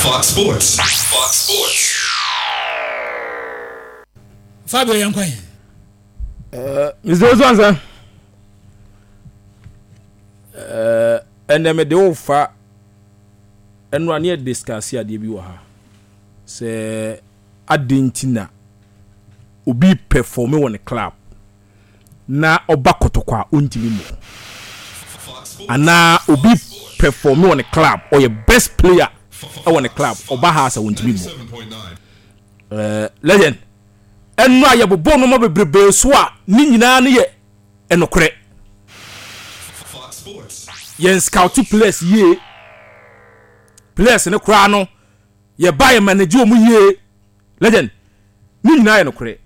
Fox Sports. Fox Sports. Fabio yɛn kwan. Mr. Osuansa, ɛnɛ mede wo fa ɛno a ne yɛ discuss adeɛ bi wɔ ha sɛ adɛn nti na obi perform wɔ ne club na ɔba Kɔtɔkɔ a ɔntumi mmɔ, anaa obi perform wɔ ne club, ɔyɛ best player ɛwɔ ne club, ɔba ha sɛ ɔntumi mmɔ. Legend, ɛno a yɛbobɔ nneɛma bebrebe so a ne nyinaa no yɛ ɛnokorɛ. Yɛn scout players yie, players ne koraa no yɛba yɛ manage wɔn yie. Legend, ne nyinaa yɛ nokorɛ.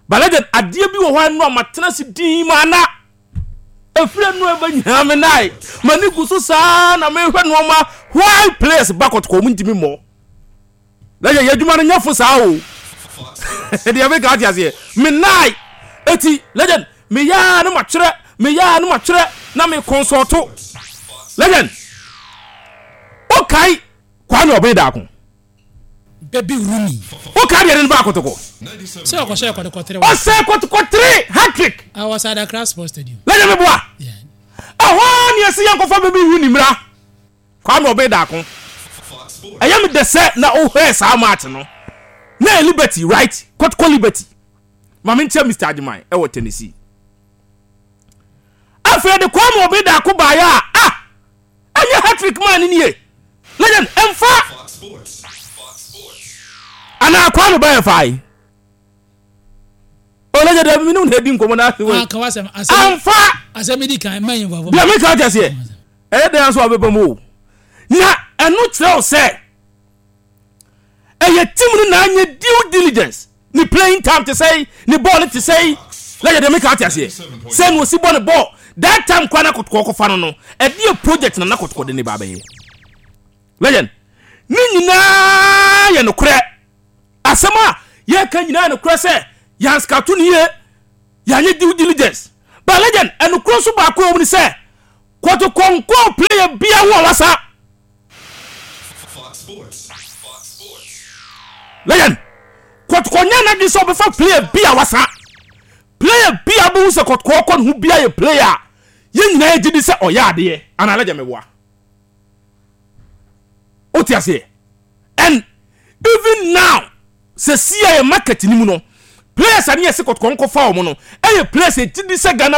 But legend, adeɛ bi wɔ hɔ a ɛno a matena se din ma ana efiri ɛno ɛbɛ nyinaa me nan m'ani gu so saa na mehwɛ nneɛma. Why players ba Kɔtɔkɔ wɔn ntumi mmɔ? Legend, yɛ adwuma no nyɛ fo saa o. Deɛ meka, ate aseɛ? Me nan eti, legend, meyɛ a no matwerɛ, meyɛ a no matwerɛ na me consult. Legend, okae Kwame Ɔbɛn Daako? Baby Rooney. Wokae deɛ ne no ba Akotokɔ? Sɛ ɔkɔhyɛ Kɔtɔkɔ 3. Ɔsɛ Kɔtɔkɔ 3 hat-trick. I was at Accra Sports Stadium. Legend, meboa? Ɛhɔ ne ɛsɛ yɛnkɔfa Baby Rooney mmra. Kwame Ɔbɛn Daako, ɛyɛ me dɛ sɛ na wohwɛɛ saa match no na yɛ Liberty, right? Kɔtɔkɔ Liberty. Ma menkyɛ Mr Agyeman ɛwɔ Tennessee. Afei de Kwame Ɔbɛn Daako baeɛ a, ah, ɛnyɛ hat-trick maa ne nie. Legend, ɛmfa anaa Kwame bɛyɛ fae ɔlɛgye dɛ mene wo na adi nkɔmmɔ no ase. Ah, ka wasɛm asɛm. Amfa. Asɛm di kan mɛn yɛn. Deɛ meka kyɛ seɛ ɛyɛ dɛn nso a wobɛba mu o, na ɛno kyerɛ wo sɛ ɛyɛ team no na anyɛ due diligence. Ne playing time te sɛi, ne ball no te sɛi. Lɛgye, deɛ meka, ate aseɛ, sɛ na ɔsi bɔ ne ball that time kora na Kɔtɔkɔ kɔfa no, ɛdeɛ project na Kɔtɔkɔ de ne ba bɛyɛ. Legend, ne nyinaa yɛ nokorɛ. Asɛm a yɛka nyinaa yɛ nokorɛ sɛ yɛan scout no yie, yɛanyɛ due diligence. But legend, ɛnokorɛ nso baako a ɛwɔ mu ne sɛ Kɔtɔkɔ nkɔɔ player bia ho a wasa. Legend, Kɔtɔkɔ nyɛ n'adwene sɛ ɔbɛfa player bi a wasa. Player bi a bɛhu sɛ Kɔtɔkɔ kɔ ne ho bia yɛ player a yɛn nyinaa yɛgye di sɛ ɔyɛ adeɛ anaa. Legend, meboa? Wote aseɛ? And even now, sɛ sia yɛ market ni mu no, players a ne yɛsɛ Kɔtɔkɔ nkɔfa wɔn no, ɛyɛ players a ɛgye di sɛ Ghana